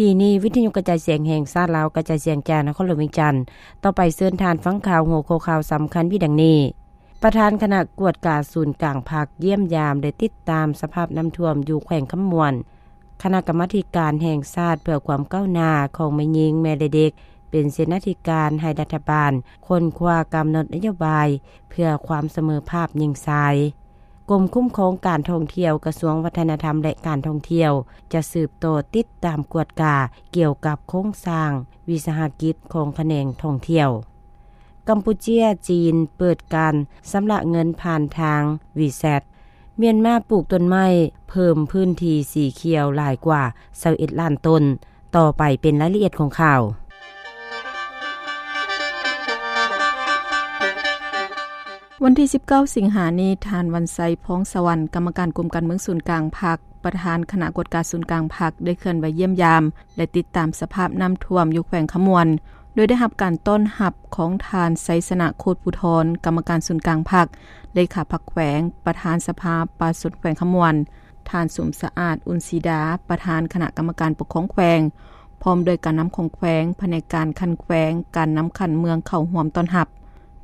ທີ່ນີ້ ວິທະຍຸກະຈາຍສຽງແຫ່ງຊາດລາວ ກະຈາຍສຽງຈາກນະຄອນຫຼວງວຽງຈັນ. ຕໍ່ໄປເຊີນທ່ານຟັງຂ່າວ ຫົວຂໍ້ຂ່າວສຳຄັນມີດັ່ງນີ້: ປະທານຄະນະກວດກາສູນກາງພັກ ຢ້ຽມຢາມ ແລະ ຕິດຕາມສະພາບນ້ຳຖ້ວມຢູ່ແຂວງຄຳມ່ວນ. ຄະນະກຳມາທິການແຫ່ງຊາດເພື່ອຄວາມກ້າວໜ້າຂອງແມ່ຍິງ ແມ່ ແລະ ເດັກ ເປັນເສນາທິການໃຫ້ລັດຖະບານຄົ້ນຄວ້າກຳນົດນະໂຍບາຍເພື່ອຄວາມສະເໝີພາບຍິງຊາຍ. ກົມຄຸ້ມຄອງການທ່ອງທ່ຽວ ກະຊວງວັດທະນະທຳ ແລະ ການທ່ອງທ່ຽວ ຈະສືບຕໍ່ຕິດຕາມກວດກາກ່ຽວກັບໂຄງສ້າງວິສາຫະກິດຂອງຂະແໜງທ່ອງທ່ຽວ. ກຳປູເຈຍ, ຈີນ ເປີດການຊຳລະເງິນຜ່ານທາງ WeChat. ມຽນມາປູກຕົ້ນໄມ້ເພີ່ມພື້ນທີ່ສີຂຽວຫຼາຍກວ່າຊາວເອັດລ້ານຕົ້ນ. ຕໍ່ໄປເປັນລາຍລະອຽດຂອງຂ່າວ. ວັນທີສິບເກົ້າ ສິງຫານີ້, ທ່ານ ວັນໄຊ ພອງສະຫວັນ ກຳມະການກົມການເມືອງສູນກາງພັກ, ປະທານຄະນະກວດກາສູນກາງພັກ ໄດ້ເຄື່ອນໄຫວຢ້ຽມຢາມ ແລະ ຕິດຕາມສະພາບນ້ຳຖ້ວມຢູ່ແຂວງຄຳມ່ວນ, ໂດຍໄດ້ຮັບການຕ້ອນຮັບຂອງທ່ານ ໄຊຊະນະ ໂຄດພູທອນ ກຳມະການສູນກາງພັກ, ເລຂາພັກແຂວງ, ປະທານສະພາປະຊາຊົນແຂວງຄຳມ່ວນ, ທ່ານ ສົມສະອາດ ອຸ່ນສີດາ ປະທານຄະນະກຳມະການປົກຄອງແຂວງ, ພ້ອມດ້ວຍການນຳຂອງແຂວງ, ພະແນກການຂັ້ນແຂວງ, ການນຳຂັ້ນເມືອງເຂົ້າຮ່ວມຕ້ອນຮັບ.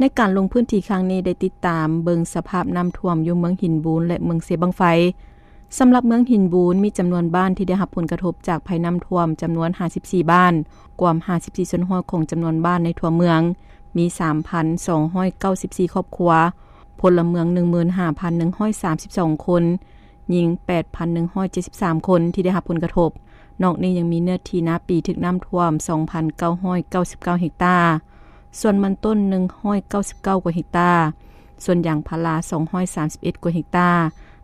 ໃນການລົງພື້ນທີ່ຄັ້ງນີ້ ໄດ້ຕິດຕາມເບິ່ງສະພາບນ້ຳຖ້ວມຢູ່ເມືອງຫີນບູນ ແລະ ເມືອງເຊບັ້ງໄຟ. ສຳລັບເມືອງຫີນບູນ ມີຈຳນວນບ້ານທີ່ໄດ້ຮັບຜົນກະທົບຈາກໄພນ້ຳຖ້ວມຈຳນວນຫ້າສິບສີ່ບ້ານ, ກວມຫ້າສິບສີ່ສ່ວນຮ້ອຍຂອງຈຳນວນບ້ານໃນທົ່ວເມືອງ, ມີສາມພັນສອງຮ້ອຍເກົ້າສິບສີ່ຄອບຄົວ, ພົນລະເມືອງໜຶ່ງໝື່ນຫ້າພັນໜຶ່ງຮ້ອຍສາມສິບສອງຄົນ, ຍິງແປດພັນໜຶ່ງຮ້ອຍເຈັດສິບສາມຄົນທີ່ໄດ້ຮັບຜົນກະທົບ. ນອກນີ້ຍັງມີເນື້ອທີ່ນາປີຖືກນ້ຳຖ້ວມສອງພັນເກົ້າຮ້ອຍເກົ້າສິບເກົ້າເຮັກຕາ, ສວນມັນຕົ້ນໜຶ່ງຮ້ອຍເກົ້າສິບເກົ້າກວ່າເຮັກຕາ, ສວນຢາງພາລາສອງຮ້ອຍສາມສິບເອັດກວ່າເຮັກຕາ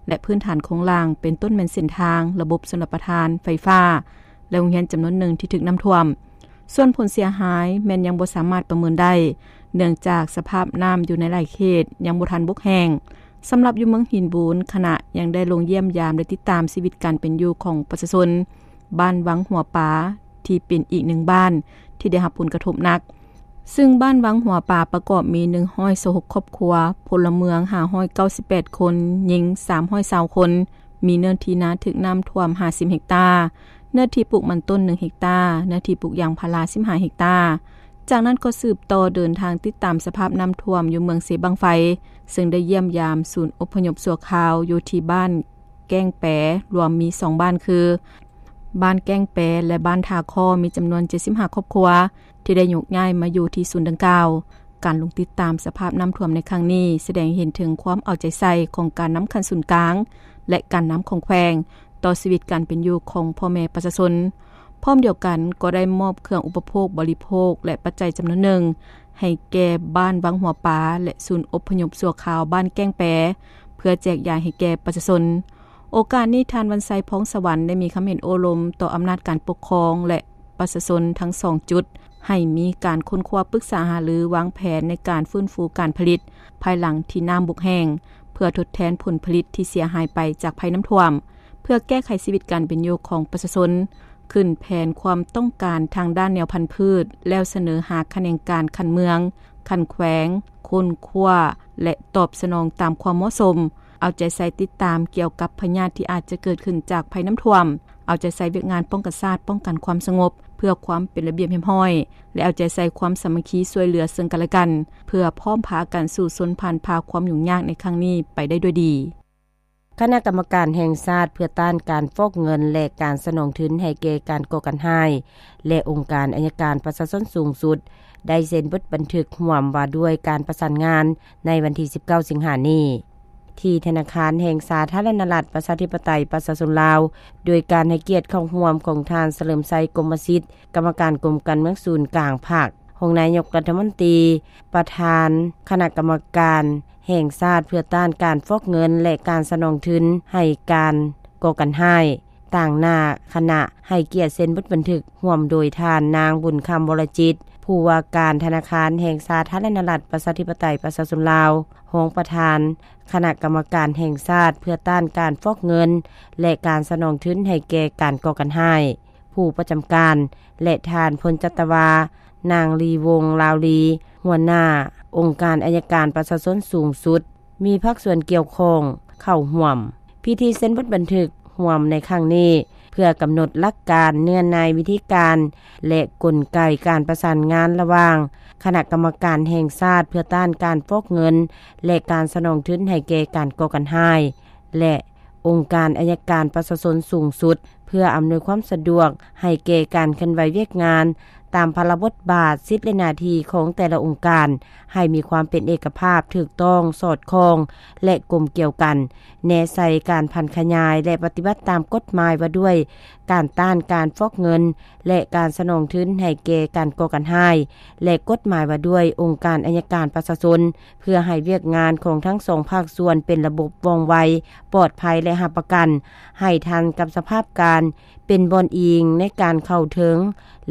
ແລະ ພື້ນຖານໂຄງລ່າງ ເປັນຕົ້ນແມ່ນເສັ້ນທາງ, ລະບົບຊົນລະປະທານ, ໄຟຟ້າ ແລະ ໂຮງຮຽນຈຳນວນໜຶ່ງທີ່ຖືກນ້ຳຖ້ວມ. ສ່ວນຜົນເສຍຫາຍແມ່ນຍັງບໍ່ສາມາດປະເມີນໄດ້, ເນື່ອງຈາກສະພາບນ້ຳຢູ່ໃນຫຼາຍເຂດຍັງບໍ່ທັນບົກແຫ້ງ. ສຳລັບຢູ່ເມືອງຫີນບູນ, ຄະນະຍັງໄດ້ລົງຢ້ຽມຢາມ ແລະ ຕິດຕາມຊີວິດການເປັນຢູ່ຂອງປະຊາຊົນບ້ານວັງຫົວປາ ທີ່ເປັນອີກໜຶ່ງບ້ານທີ່ໄດ້ຮັບຜົນກະທົບໜັກ. ຊຶ່ງບ້ານວັງຫົວປາປະກອບມີໜຶ່ງຮ້ອຍຊາວຫົກຄອບຄົວ, ພົນລະເມືອງຫ້າຮ້ອຍເກົ້າສິບແປດຄົນ, ຍິງສາມຮ້ອຍຊາວຄົນ, ມີເນື້ອທີ່ນາຖືກນ້ຳຖ້ວມຫ້າສິບເຮັກຕາ, ເນື້ອທີ່ປູກມັນຕົ້ນໜຶ່ງເຮັກຕາ, ເນື້ອທີ່ປູກຢາງພາລາສິບຫ້າເຮັກຕາ. ຈາກນັ້ນກໍສືບຕໍ່ເດີນທາງຕິດຕາມສະພາບນ້ຳຖ້ວມຢູ່ເມືອງເຊບັ້ງໄຟ, ເຊິ່ງໄດ້ຢ້ຽມຢາມສູນອົບພະຍົບຊົ່ວຄາວຢູ່ທີ່ບ້ານແກ້ງແປ, ລວມມີສອງບ້ານຄື ບ້ານແກ້ງແປ ແລະ ບ້ານທ່າຄໍ້ ມີຈຳນວນເຈັດສິບຫ້າຄອບຄົວ ທີ່ໄດ້ໂຍກຍ້າຍມາຢູ່ທີ່ສູນດັ່ງກ່າວ. ການລົງຕິດຕາມສະພາບນ້ຳຖ້ວມໃນຄັ້ງນີ້ ສະແດງໃຫ້ເຫັນເຖິງຄວາມເອົາໃຈໃສ່ຂອງການນຳຂັ້ນສູນກາງ ແລະ ການນຳຂອງແຂວງ ຕໍ່ຊີວິດການເປັນຢູ່ຂອງພໍ່ແມ່ປະຊາຊົນ. ພ້ອມດຽວກັນກໍໄດ້ມອບເຄື່ອງອຸປະໂພກບໍລິໂພກ ແລະ ປັດໄຈຈຳນວນໜຶ່ງ ໃຫ້ແກ່ບ້ານວັງຫົວປາ ແລະ ສູນອົບພະຍົບຊົ່ວຄາວບ້ານແກ້ງແປ ເພື່ອແຈກຢາຍໃຫ້ແກ່ປະຊາຊົນ. ໂອກາດນີ້ ທ່ານ ວັນໄຊ ພອງສະຫວັນ ໄດ້ມີຄຳເຫັນໂອ້ລົມຕໍ່ອຳນາດການປົກຄອງ ແລະ ປະຊາຊົນທັງສອງຈຸດ ໃຫ້ມີການຄົ້ນຄວ້າປຶກສາຫາລືວາງແຜນໃນການຟື້ນຟູການຜະລິດ ພາຍຫຼັງທີ່ນ້ຳບົກແຫ້ງ ເພື່ອທົດແທນຜົນຜະລິດທີ່ເສຍຫາຍໄປຈາກໄພນ້ຳຖ້ວມ, ເພື່ອແກ້ໄຂຊີວິດການເປັນຢູ່ຂອງປະຊາຊົນ, ຂຶ້ນແຜນຄວາມຕ້ອງການທາງດ້ານແນວພັນພືດ ແລ້ວສະເໜີຫາຂະແໜງການຂັ້ນເມືອງ, ຂັ້ນແຂວງ, ຄົ້ນຄວ້າ ແລະ ຕອບສະໜອງຕາມຄວາມເໝາະສົມ, ເອົາໃຈໃສ່ຕິດຕາມກ່ຽວກັບພະຍາດທີ່ອາດຈະເກີດຂຶ້ນຈາກໄພນ້ຳຖ້ວມ, ເອົາໃຈໃສ່ວຽກງານປ້ອງກັນຊາດ, ປ້ອງກັນຄວາມສະຫງົບ ເພື່ອຄວາມເປັນລະບຽບຮຽບຮ້ອຍ ແລະ ເອົາໃຈໃສ່ຄວາມສາມັກຄີຊ່ວຍເຫຼືອເຊິ່ງກັນແລະກັນ, ເພື່ອພ້ອມພາກັນສູ້ຊົນຜ່ານຜ່າຄວາມຫຍຸ້ງຍາກໃນຄັ້ງນີ້ໄປໄດ້ດ້ວຍດີ. ຄະນະກຳມະການແຫ່ງຊາດເພື່ອຕ້ານການຟອກເງິນ ແລະ ການສະໜອງທຶນໃຫ້ແກ່ການກໍ່ການຮ້າຍ ແລະ ອົງການໄອຍະການປະຊາຊົນສູງສຸດ ໄດ້ເຊັນບົດບັນທຶກຮ່ວມວ່າດ້ວຍການປະສານງານໃນວັນທີສິບເກົ້າ ສິງຫານີ້ ທີ່ທະນາຄານແຫ່ງສາທາລະນະລັດ ປະຊາທິປະໄຕ ປະຊາຊົນລາວ ໂດຍການໃຫ້ກຽດເຂົ້າຮ່ວມຂອງທ່ານ ສະເຫຼີມໄຊ ກົມມະສິດ ກຳມະການກົມການເມືອງສູນກາງພັກ, ຮອງນາຍົກລັດຖະມົນຕີ, ປະທານຄະນະກຳມະການແຫ່ງຊາດເພື່ອຕ້ານການຟອກເງິນ ແລະ ການສະໜອງທຶນໃຫ້ການກໍ່ການຮ້າຍ, ຕາງໜ້າຄະນະໃຫ້ກຽດເຊັນບົດບັນທຶກ ຮ່ວມໂດຍທ່ານ ນາງ ບຸນຄຳ ວໍລະຈິດ ຜູ້ວ່າການທະນາຄານແຫ່ງສາທາລະນະລັດ ປະຊາທິປະໄຕ ປະຊາຊົນລາວ, ຮອງປະທານຄະນະກຳມະການແຫ່ງຊາດເພື່ອຕ້ານການຟອກເງິນ ແລະ ການສະໜອງທຶນໃຫ້ແກ່ການກໍ່ການຮ້າຍ, ຜູ້ປະຈຳການ ແລະ ທ່ານ ພົນຈັດຕະວາ ນາງ ລີວົງ ລາວລີ, ຫົວໜ້າອົງການໄອຍະການປະຊາຊົນສູງສຸດ, ມີພາກສ່ວນກ່ຽວຂ້ອງເຂົ້າຮ່ວມ. ພິທີເຊັນບົດບັນທຶກຮ່ວມໃນຄັ້ງນີ້ ເພື່ອກຳນົດຫຼັກການ, ເນື້ອໃນ, ວິທີການ ແລະ ກົນໄກການປະສານງານລະຫວ່າງຄະນະກຳມະການແຫ່ງຊາດເພື່ອຕ້ານການຟອກເງິນ ແລະ ການສະໜອງທຶນໃຫ້ແກ່ການກໍ່ການຮ້າຍ ແລະ ອົງການໄອຍະການປະຊາຊົນສູງສຸດ ເພື່ອອຳນວຍຄວາມສະດວກໃຫ້ແກ່ການເຄື່ອນໄຫວວຽກງານ ຕາມພາລະບົດບາດ, ສິດ ແລະ ໜ້າທີ່ຂອງແຕ່ລະອົງການ ໃຫ້ມີຄວາມເປັນເອກະພາບ, ຖືກຕ້ອງ, ສອດຄ່ອງ ແລະ ກົມກຽວກັນ, ແນໃສ່ການຜັນຂະຫຍາຍ ແລະ ປະຕິບັດຕາມກົດໝາຍວ່າດ້ວຍການຕ້ານການຟອກເງິນ ແລະ ການສະໜອງທຶນໃຫ້ແກ່ການກໍ່ການຮ້າຍ ແລະ ກົດໝາຍວ່າດ້ວຍອົງການໄອຍະການປະຊາຊົນ, ເພື່ອໃຫ້ວຽກງານຂອງທັງສອງພາກສ່ວນເປັນລະບົບວ່ອງໄວ, ປອດໄພ ແລະ ຮັບປະກັນໃຫ້ທັນກັບສະພາບການ, ເປັນບ່ອນອີງໃນການເຂົ້າເຖິງ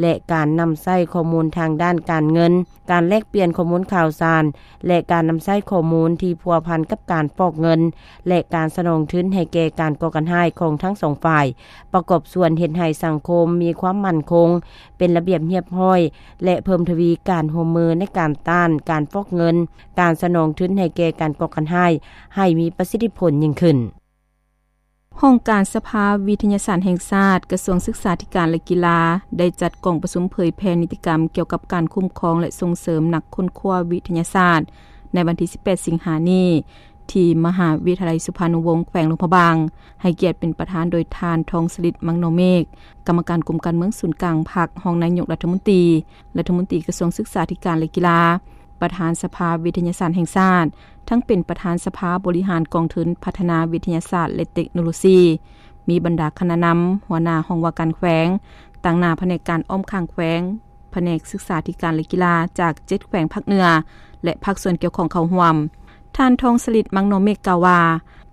ແລະ ການນຳໃຊ້ຂໍ້ມູນທາງດ້ານການເງິນ, ການແລກປ່ຽນຂໍ້ມູນຂ່າວສານ ແລະ ການນຳໃຊ້ຂໍ້ມູນທີ່ພົວພັນກັບການຟອກເງິນ ແລະ ການສະໜອງທຶນໃຫ້ແກ່ການກໍ່ການຮ້າຍຂອງທັງສອງຝ່າຍ, ປະກອບສ່ວນເຮັດໃຫ້ສັງຄົມມີຄວາມໝັ້ນຄົງ, ເປັນລະບຽບຮຽບຮ້ອຍ ແລະ ເພີ່ມທະວີການຮ່ວມມືໃນການຕ້ານການຟອກເງິນ, ການສະໜອງທຶນໃຫ້ແກ່ການກໍ່ການຮ້າຍ ໃຫ້ມີປະສິດທິຜົນຍິ່ງຂຶ້ນ. ຫ້ອງການສະພາວິທະຍາສາດແຫ່ງຊາດ, ກະຊວງສຶກສາທິການ ແລະ ກິລາ ໄດ້ຈັດກອງປະຊຸມເຜີຍແຜ່ນິຕິກຳກ່ຽວກັບການຄຸ້ມຄອງ ແລະ ສົ່ງເສີມນັກຄົ້ນຄວ້າວິທະຍາສາດ ໃນວັນທີສິບແປດ ສິງຫານີ້ ທີ່ມະຫາວິທະຍາໄລສຸພານຸວົງ ແຂວງຫຼວງພະບາງ, ໃຫ້ກຽດເປັນປະທານໂດຍທ່ານ ທອງສະລິດ ມັງນໍເມກ, ກຳມະການກົມການເມືອງສູນກາງພັກ, ຮອງນາຍົກລັດຖະມົນຕີ, ລັດຖະມົນຕີກະຊວງສຶກສາທິການ ແລະ ກິລາ, ປະທານສະພາວິທະຍາສາດແຫ່ງຊາດ, ທັງເປັນປະທານສະພາບໍລິຫານກອງທຶນພັດທະນາວິທະຍາສາດ ແລະ ເຕັກໂນໂລຊີ, ມີບັນດາຄະນະນຳ, ຫົວໜ້າຫ້ອງວ່າການແຂວງ, ຕາງໜ້າພະແນກການອ້ອມຂ້າງແຂວງ, ພະແນກສຶກສາທິການ ແລະ ກິລາ ຈາກເຈັດແຂວງພາກເໜືອ ແລະ ພາກສ່ວນກ່ຽວຂ້ອງເຂົ້າຮ່ວມ. ທ່ານ ທອງສະລິດ ມັງນໍເມກ ກ່າວວ່າ,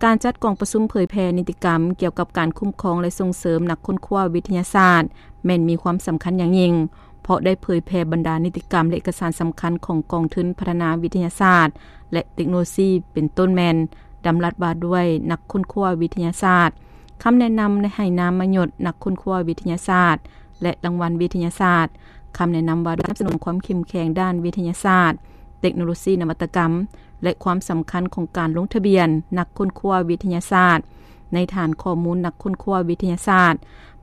ການຈັດກອງປະຊຸມເຜີຍແຜ່ນິຕິກຳກ່ຽວກັບການຄຸ້ມຄອງ ແລະ ສົ່ງເສີມນັກຄົ້ນຄວ້າວິທະຍາສາດ ແມ່ນມີຄວາມສຳຄັນຢ່າງຍິ່ງ, ເພາະໄດ້ເຜີຍແຜ່ບັນດານິຕິກຳ ແລະ ເອກະສານສຳຄັນຂອງກອງທຶນພັດທະນາວິທະຍາສາດ ແລະ ເຕັກໂນໂລຊີ, ເປັນຕົ້ນແມ່ນດຳລັດວ່າດ້ວຍນັກຄົ້ນຄວ້າວິທະຍາສາດ, ຄຳແນະນຳໃຫ້ນາມມະຍົດນັກຄົ້ນຄວ້າວິທະຍາສາດ ແລະ ລາງວັນວິທະຍາສາດ, ຄຳແນະນຳວ່າດ້ວຍສະໜັບສະໜູນຄວາມເຂັ້ມແຂງດ້ານວິທະຍາສາດ, ເຕັກໂນໂລຊີ, ນະວັດຕະກຳ ແລະ ຄວາມສຳຄັນຂອງການລົງທະບຽນນັກຄົ້ນຄວ້າວິທະຍາສາດ ໃນຖານຂໍ້ມູນນັກຄົ້ນຄວ້າວິທະຍາສາດ,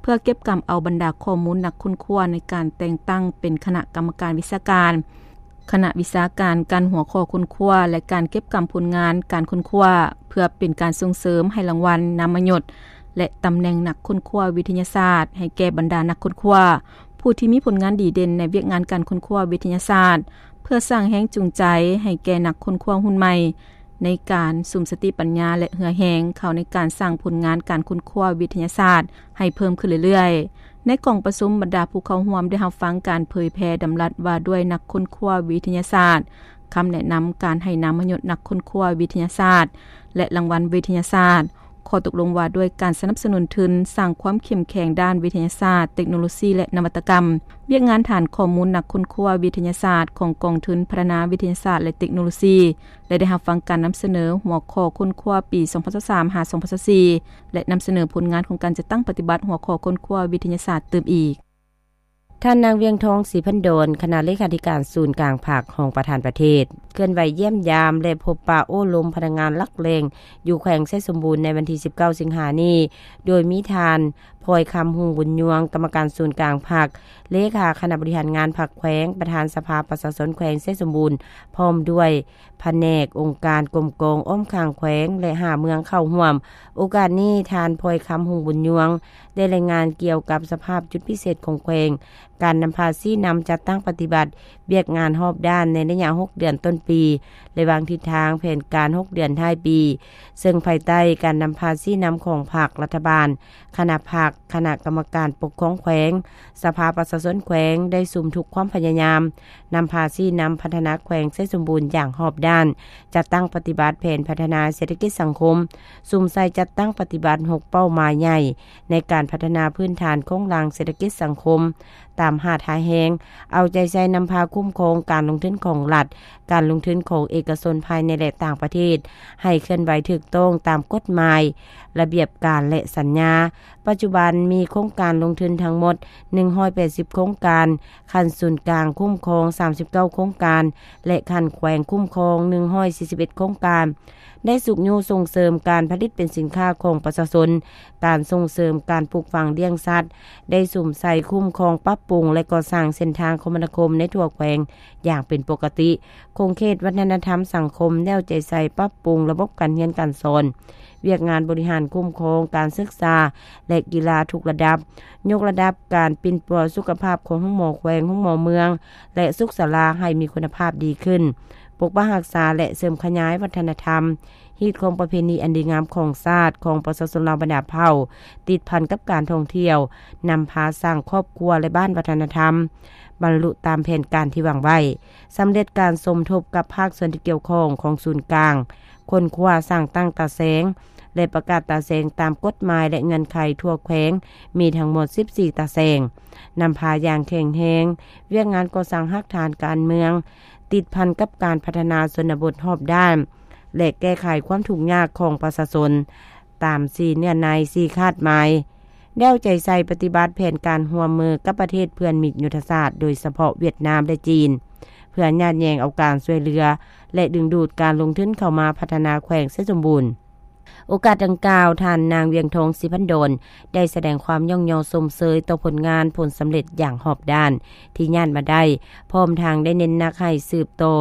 ເພື່ອເກັບກຳເອົາບັນດາຂໍ້ມູນນັກຄົ້ນຄວ້າໃນການແຕ່ງຕັ້ງເປັນຄະນະກຳມະການວິຊາການ, ຄະນະວິຊາການ, ການຫົວຂໍ້ຄົ້ນຄວ້າ ແລະ ການເກັບກຳຜົນງານການຄົ້ນຄວ້າ, ເພື່ອເປັນການສົ່ງເສີມໃຫ້ລາງວັນ, ນາມມະຍົດ ແລະ ຕຳແໜ່ງນັກຄົ້ນຄວ້າວິທະຍາສາດ ໃຫ້ແກ່ບັນດານັກຄົ້ນຄວ້າ ຜູ້ທີ່ມີຜົນງານດີເດັ່ນໃນວຽກງານການຄົ້ນຄວ້າວິທະຍາສາດ, ເພື່ອສ້າງແຮງຈູງໃຈໃຫ້ແກ່ນັກຄົ້ນຄວ້າຮຸ່ນໃໝ່ ໃນການສຸມສະຕິປັນຍາ ແລະ ເຫື່ອແຮງເຂົ້າໃນການສ້າງຜົນງານການຄົ້ນຄວ້າວິທະຍາສາດໃຫ້ເພີ່ມຂຶ້ນເລື້ອຍໆ. ໃນກອງປະຊຸມ, ບັນດາຜູ້ເຂົ້າຮ່ວມໄດ້ຮັບຟັງການເຜີຍແຜ່ດຳລັດວ່າດ້ວຍນັກຄົ້ນຄວ້າວິທະຍາສາດ, ຄຳແນະນຳການໃຫ້ນາມມະຍົດນັກຄົ້ນຄວ້າວິທະຍາສາດ ແລະ ລາງວັນວິທະຍາສາດ, ຂໍ້ຕົກລົງວ່າດ້ວຍການສະໜັບສະໜູນທຶນສ້າງຄວາມເຂັ້ມແຂງດ້ານວິທະຍາສາດ, ເຕັກໂນໂລຊີ ແລະ ນະວັດຕະກຳ, ວຽກງານຖານຂໍ້ມູນນັກຄົ້ນຄວ້າວິທະຍາສາດຂອງກອງທຶນພັດທະນາວິທະຍາສາດ ແລະ ເຕັກໂນໂລຊີ ແລະ ໄດ້ຮັບຟັງການນຳສະເໜີຫົວຂໍ້ຄົ້ນຄວ້າປີສອງພັນຊາວສາມ ຫາ ສອງພັນຊາວສີ່ ແລະ ນຳສະເໜີຜົນງານຂອງການຈັດຕັ້ງປະຕິບັດຫົວຂໍ້ຄົ້ນຄວ້າວິທະຍາສາດຕື່ມອີກ. ທ່ານນາງ ວຽງທອງ ສີພັນດອນ ຄະນະເລຂາທິການສູນກາງພັກ ຮອງປະທານປະເທດ ເຄື່ອນໄຫວຢ້ຽມຢາມ ແລະ ພົບປະໂອ້ລົມພະນັກງານຫຼັກແຫຼ່ງ ຢູ່ແຂວງໄຊສົມບູນ ໃນວັນທີສິບເກົ້າ ສິງຫານີ້ ໂດຍມີທ່ານ ພອຍຄຳ ຮຸ່ງບຸນຍວງ ກຳມະການສູນກາງພັກ, ເລຂາຄະນະບໍລິຫານງານພັກແຂວງ, ປະທານສະພາປະຊາຊົນແຂວງໄຊສົມບູນ ພ້ອມດ້ວຍພະແນກ, ອົງການ, ກົມກອງ, ອ້ອມຂ້າງແຂວງ ແລະ ຫ້າເມືອງເຂົ້າຮ່ວມ. ໂອກາດນີ້, ທ່ານ ພອຍຄຳ ຮຸ່ງບຸນຍວງ ໄດ້ລາຍງານກ່ຽວກັບສະພາບຈຸດພິເສດຂອງແຂວງ, ການນຳພາຊີ້ນຳຈັດຕັ້ງປະຕິບັດວຽກງານຮອບດ້ານໃນໄລຍະຫົກເດືອນຕົ້ນປີ ແລະ ວາງທິດທາງແຜນການຫົກເດືອນທ້າຍປີ, ເຊິ່ງພາຍໃຕ້ການນຳພາຊີ້ນຳຂອງພັກ, ລັດຖະບານ, ຄະນະພັກ, ຄະນະກຳມະການປົກຄອງແຂວງ, ສະພາປະຊາຊົນແຂວງ ໄດ້ສຸມທຸກຄວາມພະຍາຍາມ ນຳພາຊີ້ນຳພັດທະນາແຂວງໄຊສົມບູນຢ່າງຮອບດ້ານ, ຈັດຕັ້ງປະຕິບັດແຜນພັດທະນາເສດຖະກິດສັງຄົມ, ສຸມໃສ່ຈັດຕັ້ງປະຕິບັດຫົກເປົ້າໝາຍໃຫຍ່ໃນການພັດທະນາພື້ນຖານໂຄງລ່າງເສດຖະກິດສັງຄົມຕາມຫ້າທ່າແຮງ, ເອົາໃຈໃສ່ນຳພາຄຸ້ມຄອງການລົງທຶນຂອງລັດ, ການລົງທຶນຂອງເອກະຊົນພາຍໃນ ແລະ ຕ່າງປະເທດ ໃຫ້ເຄື່ອນໄຫວຖືກຕ້ອງຕາມກົດໝາຍ, ລະບຽບການ ແລະ ສັນຍາ. ປັດຈຸບັນມີໂຄງການລົງທຶນທັງໝົດໜຶ່ງຮ້ອຍແປດສິບໂຄງການ, ຂັ້ນສູນກາງຄຸ້ມຄອງສາມສິບເກົ້າໂຄງການ ແລະ ຂັ້ນແຂວງຄຸ້ມຄອງໜຶ່ງຮ້ອຍສີ່ສິບເອັດໂຄງການ. ໄດ້ຊຸກຍູ້ສົ່ງເສີມການຜະລິດເປັນສິນຄ້າຂອງປະຊາຊົນ, ການສົ່ງເສີມການປູກຝັງລ້ຽງສັດ, ໄດ້ສຸມໃສ່ຄຸ້ມຄອງ, ປັບປຸງ ແລະ ກໍ່ສ້າງເສັ້ນທາງຄົມມະນາຄົມໃນທົ່ວແຂວງຢ່າງເປັນປົກກະຕິ, ຂົງເຂດວັດທະນະທຳສັງຄົມ ແນວໃຈໃສ່ປັບປຸງລະບົບການຮຽນການສອນ, ວຽກງານບໍລິຫານຄຸ້ມຄອງການສຶກສາ ແລະ ກິລາທຸກລະດັບ, ຍົກລະດັບການປິ່ນປົວສຸຂະພາບຂອງໂຮງໝໍແຂວງ, ໂຮງໝໍເມືອງ ແລະ ສຸກສາລາໃຫ້ມີຄຸນນະພາບດີຂຶ້ນ, ປົກປັກຮັກສາ ແລະ ເສີມຂະຫຍາຍວັດທະນະທຳ, ຮີດຄອງປະເພນີອັນດີງາມຂອງຊາດ, ຂອງປະຊາຊົນລາວບັນດາເຜົ່າ, ຕິດພັນກັບການທ່ອງທ່ຽວ, ນຳພາສ້າງຄອບຄົວ ແລະ ບ້ານວັດທະນະທຳ, ບັນລຸຕາມແຜນການທີ່ວາງໄວ້, ສຳເລັດການສົມທົບກັບພາກສ່ວນທີ່ກ່ຽວຂ້ອງຂອງສູນກາງ, ຄົ້ນຄວ້າສ້າງຕັ້ງຕາແສງ ແລະ ປະກາດຕາແສງຕາມກົດໝາຍ ແລະ ເງື່ອນໄຂທົ່ວແຂວງ ມີທັງໝົດສິບສີ່ຕາແສງ, ນຳພາຢ່າງແຂງແຮງວຽກງານກໍ່ສ້າງຮາກຖານການເມືອງ, ຕິດພັນກັບການພັດທະນາຊົນນະບົດຮອບດ້ານ ແລະ ແກ້ໄຂຄວາມທຸກຍາກຂອງປະຊາຊົນ ຕາມສີ່ເນື້ອໃນ ສີ່ຄາດໝາຍ, ແນວໃຈໃສ່ປະຕິບັດແຜນການຮ່ວມມືກັບປະເທດເພື່ອນມິດຍຸດທະສາດ, ໂດຍສະເພາະຫວຽດນາມ ແລະ ຈີນ, ເພື່ອຍາດແຍ່ງເອົາການຊ່ວຍເຫຼືອ ແລະ ດຶງດູດການລົງທຶນເຂົ້າມາພັດທະນາແຂວງໄຊສົມບູນ. ໂອກາດດັ່ງກ່າວ, ທ່ານນາງ ວຽງທອງ ສີພັນດອນ ໄດ້ສະແດງຄວາມຍ້ອງຍໍຊົມເຊີຍຕໍ່ຜົນງານຜົນສຳເລັດຢ່າງຮອບດ້ານທີ່ຍາດມາໄດ້, ພ້ອມທັງໄດ້ເນັ້ນໜັກໃຫ້ສືບຕໍ່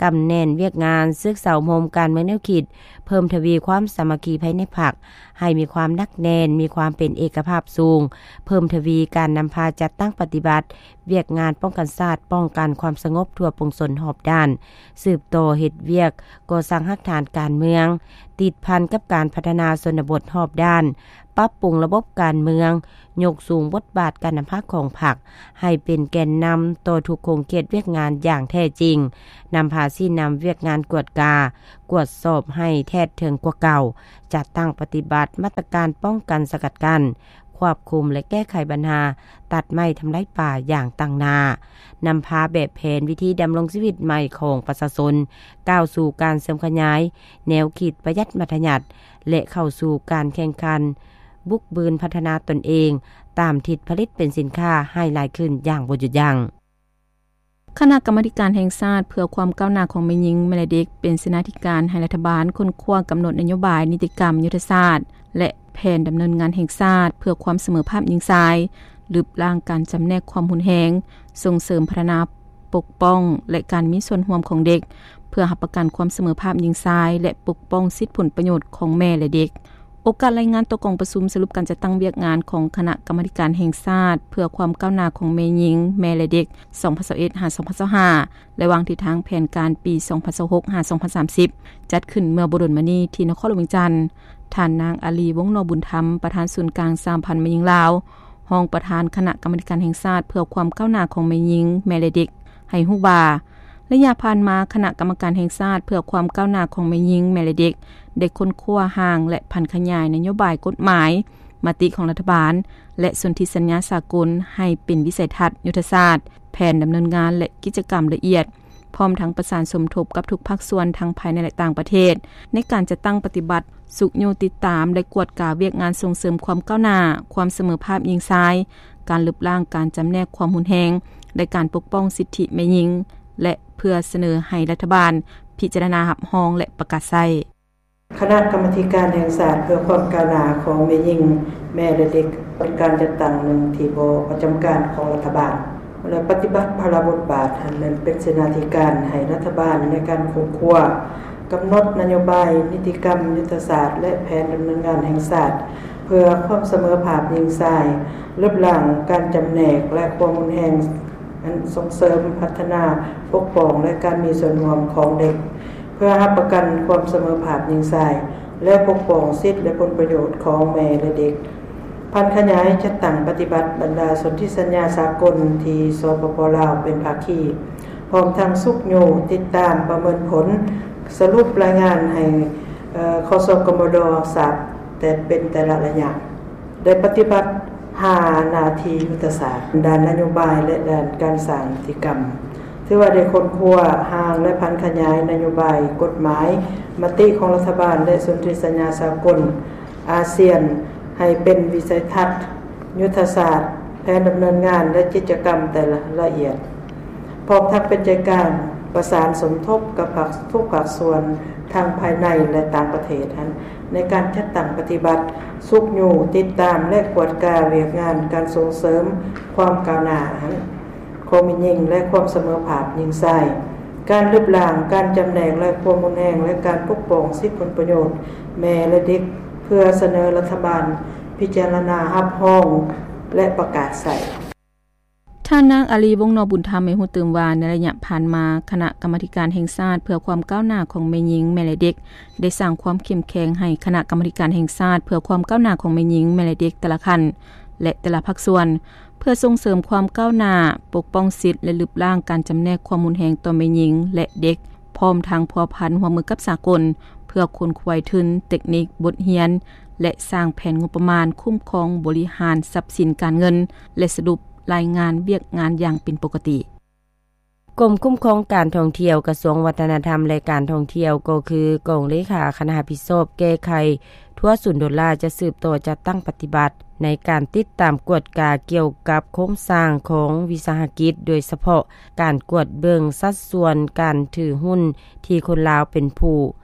ກຳແໜ້ນວຽກງານ, ສຶກສາອົບຮົມການເມືອງແນວຄິດ, ເພີ່ມທະວີຄວາມສາມັກຄີພາຍໃນພັກໃຫ້ມີຄວາມໜັກແໜ້ນ, ມີຄວາມເປັນເອກະພາບສູງ, ເພີ່ມທະວີການນຳພາຈັດຕັ້ງປະຕິບັດ ວຽກງານປ້ອງກັນຊາດ, ປ້ອງກັນຄວາມສະຫງົບທົ່ວປວງຊົນຮອບດ້ານ, ສືບຕໍ່ເຮັດວຽກກໍ່ສ້າງຮາກຖານການເມືອງ, ຕິດພັນກັບການພັດທະນາຊົນນະບົດຮອບດ້ານ, ປັບປຸງລະບົບການເມືອງ, ຍົກສູງບົດບາດການນຳພາຂອງພັກໃຫ້ເປັນແກນນຳຕໍ່ທຸກຂົງເຂດວຽກງານຢ່າງແທ້ຈິງ, ນຳພາຊີ້ນຳວຽກງານກວດກາ, ກວດສອບໃຫ້ແທດເຖິງກວ່າເກົ່າ, ຈັດຕັ້ງປະຕິບັດມາດຕະການປ້ອງກັນສະກັດກັ້ນ, ຄວບຄຸມ ແລະ ແກ້ໄຂບັນຫາຕັດໄມ້ທຳລາຍປ່າຢ່າງຕັ້ງໜ້າ, ນຳພາແບບແຜນວິທີດຳລົງຊີວິດໃໝ່ຂອງປະຊາຊົນ ກ້າວສູ່ການເສີມຂະຫຍາຍແນວຄິດປະຢັດມັດທະຍັດ ແລະ ເຂົ້າສູ່ການແຂ່ງຂັນບຸກບືນພັດທະນາຕົນເອງ ຕາມທິດຜະລິດເປັນສິນຄ້າໃຫ້ຫຼາຍຂຶ້ນຢ່າງບໍ່ຢຸດຢັ້ງ. ຄະນະກຳມາທິການແຫ່ງຊາດເພື່ອຄວາມກ້າວໜ້າຂອງແມ່ຍິງ, ແມ່ ແລະ ເດັກ ເປັນເສນາທິການໃຫ້ລັດຖະບານຄົ້ນຄວ້າກຳນົດນະໂຍບາຍ, ນິຕິກຳ, ຍຸດທະສາດ ແລະ ແຜນດຳເນີນງານແຫ່ງຊາດເພື່ອຄວາມສະເໝີພາບຍິງຊາຍ, ລຶບລ້າງການຈຳແນກຄວາມຮຸນແຮງ, ສົ່ງເສີມພັດທະນາ, ປົກປ້ອງ ແລະ ການມີສ່ວນຮ່ວມຂອງເດັກ, ເພື່ອຮັບປະກັນຄວາມສະເໝີພາບຍິງຊາຍ ແລະ ປົກປ້ອງສິດຜົນປະໂຫຍດຂອງແມ່ ແລະ ເດັກ. ໂອກາດລາຍງານຕໍ່ກອງປະຊຸມສະຫຼຸບການຈັດຕັ້ງວຽກງານຂອງຄະນະກຳມາທິການແຫ່ງຊາດເພື່ອຄວາມກ້າວໜ້າຂອງແມ່ຍິງ, ແມ່ ແລະ ເດັກ ສອງພັນຊາວເອັດ ຫາ ສອງພັນຊາວຫ້າ ແລະ ວາງທິດທາງແຜນການປີ ສອງພັນຊາວຫົກ ຫາ ສອງພັນສາມສິບ ຈັດຂຶ້ນເມື່ອບໍ່ດົນມານີ້ທີ່ນະຄອນຫຼວງວຽງຈັນ. ທ່ານນາງ ອາລີ ວົງນໍບຸນທຳ ປະທານສູນກາງສະຫະພັນແມ່ຍິງລາວ, ຮອງປະທານຄະນະກຳມາທິການແຫ່ງຊາດເພື່ອຄວາມກ້າວໜ້າຂອງແມ່ຍິງ, ແມ່ ແລະ ເດັກ ໃຫ້ຮູ້ວ່າ ໄລຍະຜ່ານມາ, ຄະນະກຳມະການແຫ່ງຊາດເພື່ອຄວາມກ້າວໜ້າຂອງແມ່ຍິງ, ແມ່ ແລະ ເດັກ ໄດ້ຄົ້ນຄວ້າຮ່າງ ແລະ ຜັນຂະຫຍາຍນະໂຍບາຍ, ກົດໝາຍ, ມະຕິຂອງລັດຖະບານ ແລະ ສົນທິສັນຍາສາກົນ ໃຫ້ເປັນວິໄສທັດ, ຍຸດທະສາດ, ແຜນດຳເນີນງານ ແລະ ກິດຈະກຳລະອຽດ, ພ້ອມທັງປະສານສົມທົບກັບທຸກພາກສ່ວນທັງພາຍໃນ ແລະ ຕ່າງປະເທດ ໃນການຈັດຕັ້ງປະຕິບັດ, ຊຸກຍູ້ຕິດຕາມ ແລະ ກວດກາວຽກງານສົ່ງເສີມຄວາມກ້າວໜ້າ, ຄວາມສະເໝີພາບຍິງຊາຍ, ການລຶບລ້າງການຈຳແນກຄວາມຮຸນແຮງ ແລະ ການປົກປ້ອງສິດທິແມ່ຍິງ ແລະ ເພື່ອສະເໜີໃຫ້ລັດຖະບານພິຈາລະນາຮັບຮອງ ແລະ ປະກາດໃຊ້. ຄະນະກຳມາທິການແຫ່ງຊາດເພື່ອຄວາມກ້າວໜ້າຂອງແມ່ຍິງ, ແມ່ ແລະ ເດັກ ເປັນການຈັດຕັ້ງໜຶ່ງທີ່ບໍ່ປະຈຳການຂອງລັດຖະບານ ແລະ ປະຕິບັດພາລະບົດບາດ ອັນແມ່ນເປັນເສນາທິການໃຫ້ລັດຖະບານໃນການຄົ້ນຄວ້າ, ກຳນົດນະໂຍບາຍ, ນິຕິກຳ, ຍຸດທະສາດ ແລະ ແຜນດຳເນີນງານແຫ່ງຊາດ ເພື່ອຄວາມສະເໝີພາບຍິງຊາຍ, ລຶບລ້າງການຈຳແນກ ແລະ ຄວາມຮຸນແຮງ, ອັນສົ່ງເສີມ, ພັດທະນາ, ປົກປ້ອງ ແລະ ການມີສ່ວນຮ່ວມຂອງເດັກ ເພື່ອຮັບປະກັນຄວາມສະເໝີພາບຍິງຊາຍ ແລະ ປົກປ້ອງສິດ ແລະ ຜົນປະໂຫຍດຂອງແມ່ ແລະ ເດັກ. ຜັນຂະຫຍາຍຈັດຕັ້ງປະຕິບັດບັນດາສົນທິສັນຍາສາກົນທີ່ ສປປ ລາວ ເປັນພາຄີ, ພ້ອມທັງຊຸກຍູ້ຕິດຕາມປະເມີນຜົນ, ສະຫຼຸບລາຍງານໃຫ້ ເອີ ຂະ ສກມດ ຊາບແຕ່ເປັນແຕ່ລະໄລຍະ. ໄດ້ປະຕິບັດຫ້າໜ້າທີ່ຍຸດທະສາດ ດ້ານນະໂຍບາຍ ແລະ ດ້ານການສ້າງນິຕິກຳ, ຖືວ່າໄດ້ຄົ້ນຄວ້າຮ່າງ ແລະ ຜັນຂະຫຍາຍນະໂຍບາຍ, ກົດໝາຍ, ມະຕິຂອງລັດຖະບານ ແລະ ສົນທິສັນຍາສາກົນອາຊຽນ ໃຫ້ເປັນວິໄສທັດ, ຍຸດທະສາດ, ແຜນດຳເນີນງານ ແລະ ກິດຈະກຳແຕ່ລະລະອຽດ, ພ້ອມທັງເປັນໃຈກາງ ປະສານສົມທົບກັບພາກ ທຸກພາກສ່ວນທັງພາຍໃນ ແລະ ຕ່າງປະເທດຫັ້ນ ໃນການຈັດຕັ້ງປະຕິບັດ, ຊຸກຍູ້, ຕິດຕາມ ແລະ ກວດກາວຽກງານການສົ່ງເສີມຄວາມກ້າວໜ້າຫັ້ນ ຂອງແມ່ຍິງ ແລະ ຄວາມສະເໝີພາບຍິງຊາຍ, ການລຶບລ້າງການຈຳແນກ ແລະ ຄວາມຮຸນແຮງ ແລະ ການປົກປ້ອງສິດຜົນປະໂຫຍດແມ່ ແລະ ເດັກ ເພື່ອສະເໜີລັດຖະບານພິຈາລະນາຮັບຮອງ ແລະ ປະກາດໃຊ້. ທ່ານນາງ ອາລີ ວົງນໍບຸນທຳ ໃຫ້ຮູ້ຕື່ມວ່າ ໃນໄລຍະຜ່ານມາ ຄະນະກຳມາທິການແຫ່ງຊາດເພື່ອຄວາມກ້າວໜ້າຂອງແມ່ຍິງ ແມ່ ແລະ ເດັກ ໄດ້ສ້າງຄວາມເຂັ້ມແຂງໃຫ້ຄະນະກຳມາທິການແຫ່ງຊາດເພື່ອຄວາມກ້າວໜ້າຂອງແມ່ຍິງ ແມ່ ແລະ ເດັກແຕ່ລະຂັ້ນ ແລະ ແຕ່ລະພາກສ່ວນ ເພື່ອສົ່ງເສີມຄວາມກ້າວໜ້າ, ປົກປ້ອງສິດ ແລະ ລຶບລ້າງການຈຳແນກຄວາມຮຸນແຮງຕໍ່ແມ່ຍິງ ແລະ ເດັກ, ພ້ອມທັງພົວພັນຮ່ວມມືກັບສາກົນ ເພື່ອຄົ້ນຄວ້າທຶນ, ເຕັກນິກ, ບົດຮຽນ ແລະ ສ້າງແຜນງົບປະມານຄຸ້ມຄອງບໍລິຫານຊັບສິນການເງິນ ແລະ ສະຫຼຸບລາຍງານວຽກງານຢ່າງເປັນປົກກະຕິ. ກົມຄຸ້ມຄອງການທ່ອງທ່ຽວ ກະຊວງວັດທະນະທຳ ແລະ ການທ່ອງທ່ຽວ ກໍຄືກອງເລຂາຄະນະຮັບຜິດຊອບແກ້ໄຂທົ່ວສູນໂດລາ ຈະສືບຕໍ່ຈັດຕັ້ງປະຕິບັດໃນການຕິດຕາມກວດກາກ່ຽວກັບໂຄງສ້າງຂອງວິສາຫະກິດ, ໂດຍສະເພາະການກວດເບິ່ງສັດສ່ວນການຖືຫຸ້ນທີ່ຄົນລາວເປັນຜູ້